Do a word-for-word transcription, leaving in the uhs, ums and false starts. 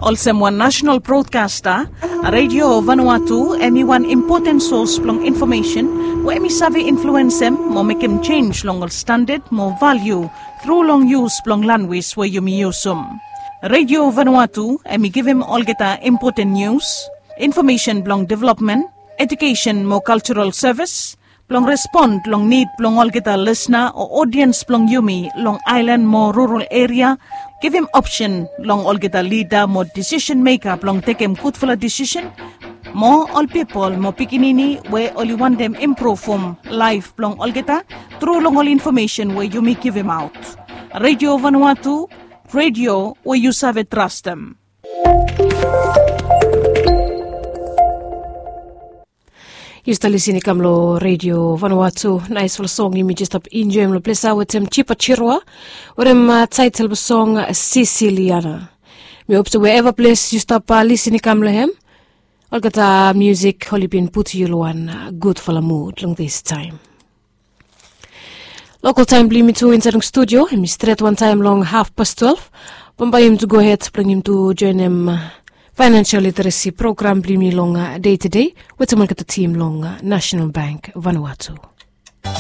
Olsem wan nasenal brodkasta, Redio Vanuatu em i wan impoten sos blong infomesen we em i save influensem mo mekem jenj long ol standad mo valiu tru long yus blong lanwis we yumi yusum. Redio Vanuatu em i givim olgeta impoten nius, infomesen blong developmen, ejukesen mo kaljaral sevis, blong respon long nid blong olgeta lisna o odiens blong yumi long aelan mo rural eria, givim opsen long olgeta lida mo disisen meka blong tekem gudfala disisen, mo ol pipol mo pikinini we oli wantem impruvum laef blong olgeta tru long ol infomesen we yumi givimaot. Redio Vanuatu, redio we yu save trastem. Yu stap lisin i kam long Redio Vanuatu. Naesfala song yumi jes stap enjoem long ples ya wetem Jipa Jirua wetem taetel blong song Sisiliana. Mi hop se wherever ples yu stap lisin i kam long hem, olgeta musik oli bin putum yu long wan gudfala mud long distaem. Lokal taem blong yumi tu insaed long studio em i stret wantaem long hafpas twelef. Bambae yumi tu gohed blong yumi tu joenem faenensel literesi program blong yumi long dei tedei wetem olgeta tim long Nasenal Bank Vanuatu.